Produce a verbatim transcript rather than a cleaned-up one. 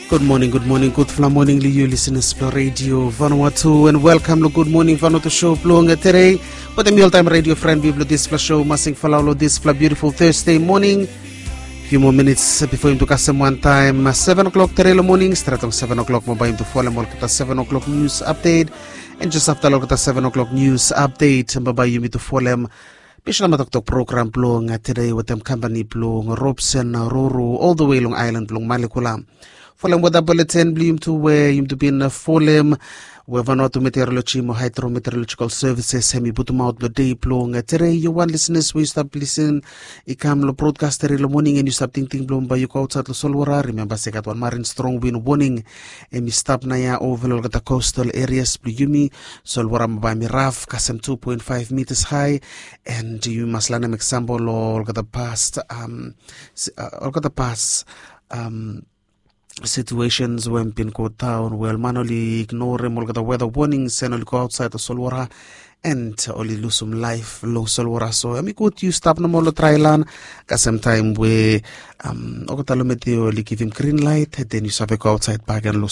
Gud moning, gud moning, gudfala moning long yu lisenas blong Radio Vanuatu, and welkam long Gud Moning Vanuatu show blong tede. Wetem mi oltaem radio fren blong dispela show, Masing Falau, long dispela beautiful Thursday moning. Few more minutes before yumi tu kasem wantaem seven o'clock tede long moning, stret long seven o'clock mo bae yumi tu folem olgeta seven o'clock news update. And just after olgeta seven o'clock news update, bae yumi tu folem Bishola Matoktok program blong tede wetem kampani blong Robson Roro all the way long island blong Malekula. Folem weather bulletin blong yumi tu we yumi tu bin folem we Vanuatu Meteorology mo Hydrometeorological Services hem i putumaot long dei blong tede. Yu wan lisenas we yu stap lisen i kam long broadcast tede long moning and yu stap tingting blong bae yu go ausait long solwara, rimemba se i gat wan marin strong win warning hem i stap naoia ova long olgeta coastal areas blong yumi. Solwara bae hem i raf kasem two point five meters high. And yumi mas lanem example long olgeta past um, olgeta past um, situations we hem bin go daon, wel man oli ignorem olgeta weather warnings and oli go ausait long solwara and oli lusum laef long solwara. So hem i gud yu stap nomo long drai lan kasem taem we um, olgeta lometi oli givim green light, then yu save go ausait bagen long